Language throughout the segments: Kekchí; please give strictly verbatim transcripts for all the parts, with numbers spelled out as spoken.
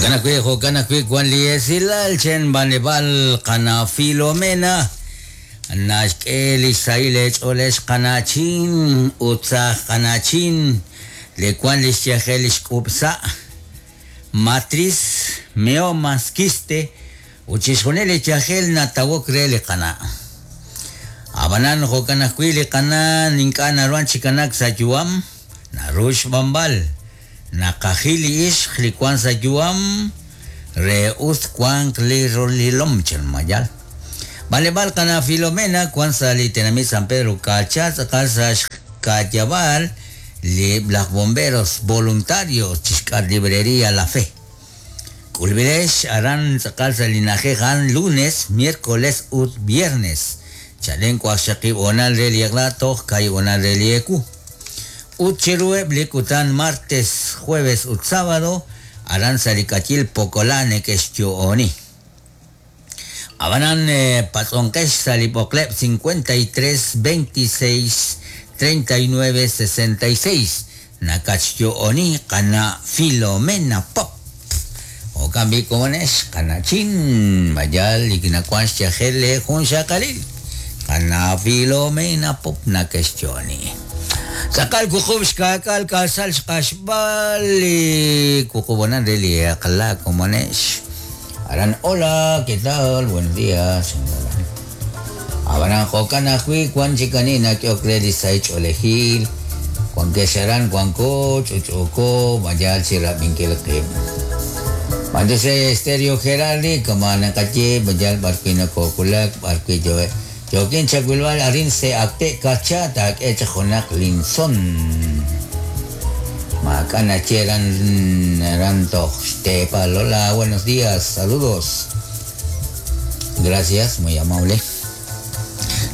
Jo'kan ajwi' jo'kan ajwi' wan li esilal chen b'anleb'aal qana Filomena naxk'e li xsahil eech'oolex qanachin ut saj qanachin le wan li xyajel li xk'ub'sa' matriz miomas quiste ut chixjunil li yajel natawok re li qana'. Ab'anan jo'kan ajwi' li qana' ink'a' naruhan chi kanak sa' yu'am naru xb'anb'al naqajil li ixq li wan sa' yu'am re us wanq li rolilom chen mayal. B'anleb'aal qana Filomena wan sa' li tenamit San Pedro Kacha tz'aqal sa' xka'yab'aal li laj bomberos voluntarios chixk'at librería La Fe. K'ulb'ilex aran tz'aqal sa' li na'ajej a'an lunes, miércoles ut viernes. Chalen waqxaqib' honal re li eq'la toj kaahib' honal re li ewu. Ut chiruheb' li kutan martes, jueves ut sábado aran sa' li k'ayil Pokolá neke'xyo'oni. Ab'anan patz'onqex sa' li b'oqleb' cincuenta y tres, veintiséis, treinta y nueve, sesenta y seis nakatxyo'oni qana' Filomena Pop. Jo'kan b'i komonex qanachin mayal li nawan xyajel le jun xaqalil qana' Filomena Pop nakexyo'oni. Tz'aqal wuqub' xka'k'al k'asal xq'axb'al li wuqub' re li eq'la komonex. Aran, hola, ¿qué tal? Buenos días. Ab'anan jo'kan ajwi' wan chik ani nak'ehok re li sahil ch'oolejil, wankex aran wanko, ch'uch'uko, mayal chi rab'inkil qib'. Manduse Estéreo Gerardi, kama naqaye, mayal b'arwi' nakookulak, b'arwi' yo'e. Yo'kin chawilb'al arin se akte kacha taak'e chaq junaq linson. Maak'a' nache ran ran toj xteepal. Hola, buenos días, saludos. Gracias, muy amable.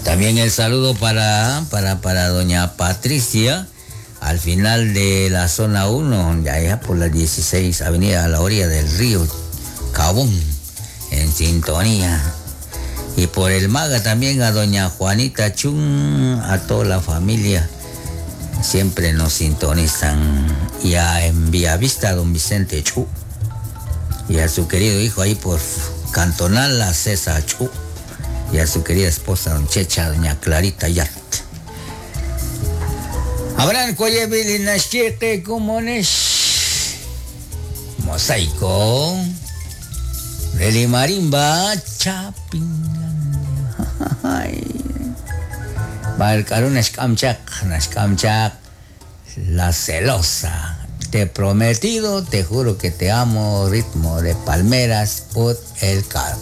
También el saludo para, para, para doña Patricia, al final de la zona uno, ya, ya por la dieciséis avenida a la orilla del río Cabón, en sintonía. Y por el Maga también a doña Juanita Chun, a toda la familia. Siempre nos sintonizan. Y a en Villavista, don Vicente Chu. Y a su querido hijo ahí por Cantonal, a César Chu. Y a su querida esposa, don Checha, doña Clarita Yart. Habrán cuayebili naschique comones. Mosaico. Reli marimba chapin. Barcarun xkamchak, naxkamchak, la celosa. Te he prometido, te juro que te amo, ritmo de palmeras, ut el car.